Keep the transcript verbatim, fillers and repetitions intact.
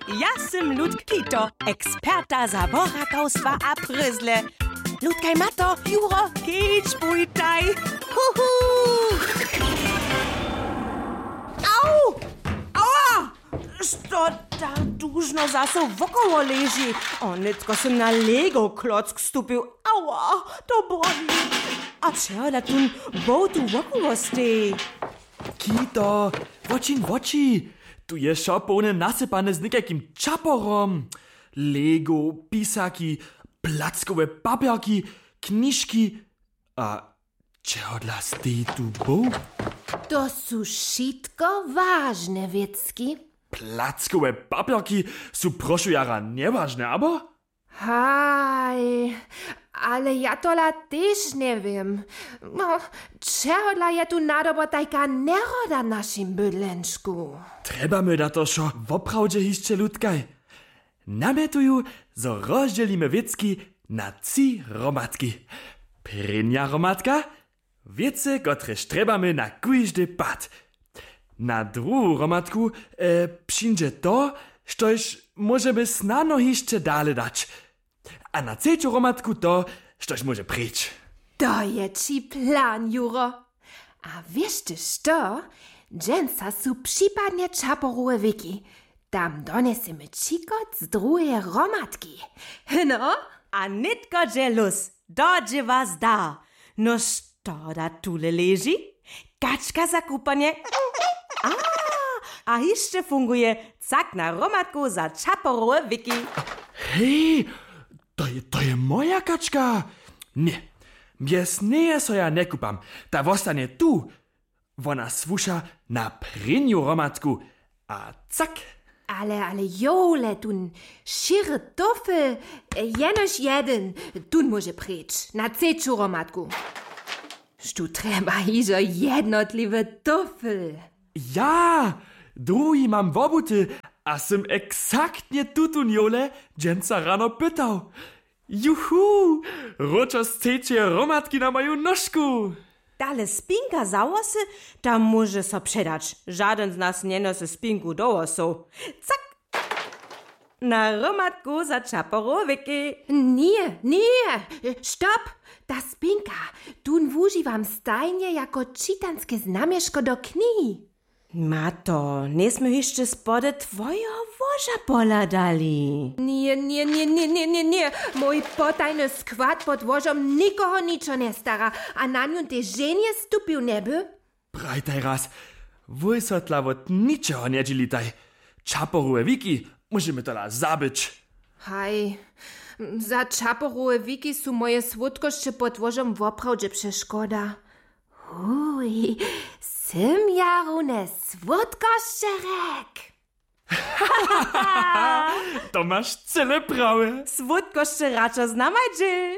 Ja sym Ludk Kito, eksperta za borakawstwa a pryzle. Ludkaj Mato, Juro, kedź pójtaj. Huhu! Au! Aua! Što tak dužno zaso wokoło leži? O, nětko sym na Lego klock stupił. Aua, to boli. A čehodla tón bołtu wokoło steji? Kito, wočiń woči! Tu je wšo połne nasypane z někajkim čaporom. Lego, pisaki, plackowe papjerki, knižki. A čehodla steji tu bow? To su wšitko wažne wěcki. Plackowe papjerki su prošu jara njewažne, abo? Haj, ale ja tola tež njewěm. No, čehodla je tu nadobo tajka njehoda w našim bydlenčku? Trjebamy na to wšo woprawdźe hišće, Ludkaj. Namjetuju, zo rozdźělimy wěcki na tři hromadki. Prěnja hromadka: wěcy, kotrež trjebamy na kóždy pad. Na druhu hromadku, e, přińdźe to, štož móžemy snano hišće dale dać. A na třeću hromadku to, štož móže preč. To je ći plan, Juro. A wěš ty što? Dźensa su připadnje čaporowe wiki. Tam donesemy ćikot z druheje hromadki. No? A nětko dźe lós. Do dźěła zdar. No što da tule leži? Kačka za kupanje. A, a hišće funguje cak na hromadku za čaporowe wiki. Hej, to je, to je moja kačka. Ně, mjez njeje so ja njekupam. Ta wostanje tu. Wona słuša na prěnju hromadku. A cak. Ale, ale jowle, tón šěry tofel, jenož jedyn, tón móže preč na třeću hromadku. Štó trjeba hižo jednotliwy tofel. Ja, druhi mam wobuty a sym eksaktnje tutón jowle dźensa rano pytał. Juhu, wróćo z třećeje hromadki na moju nóžku. Dale spinka za włosy, ta móže so předać. Žadyn z nas njenosy spinku do włosow. Cak. Na hromadku za čaporowe wiki. Ně, ně, stop. Ta spinka, tón wužiwam stajnje jako čitanske znamješko do knihi. Mato, njejsmy hišće spody twojeho łoža pohladali. Ně, ně, ně, ně, ně, ně, ně. Mój potajny skład pod łožom nikoho ničo njestara, a na njón tež ženje stupił njeby. Prajtaj raz, wój so tla wot ničeho njedźělitaj. Čaporowe wiki móžemy tola zabyć. Haj, za čaporowe wiki su moje słódkosće pod łožom woprawdźe přeškoda. Huj, sym ja runje słódkosće rjekł. To maš cyle prawy. Słódkosće radšo z namaj dźě.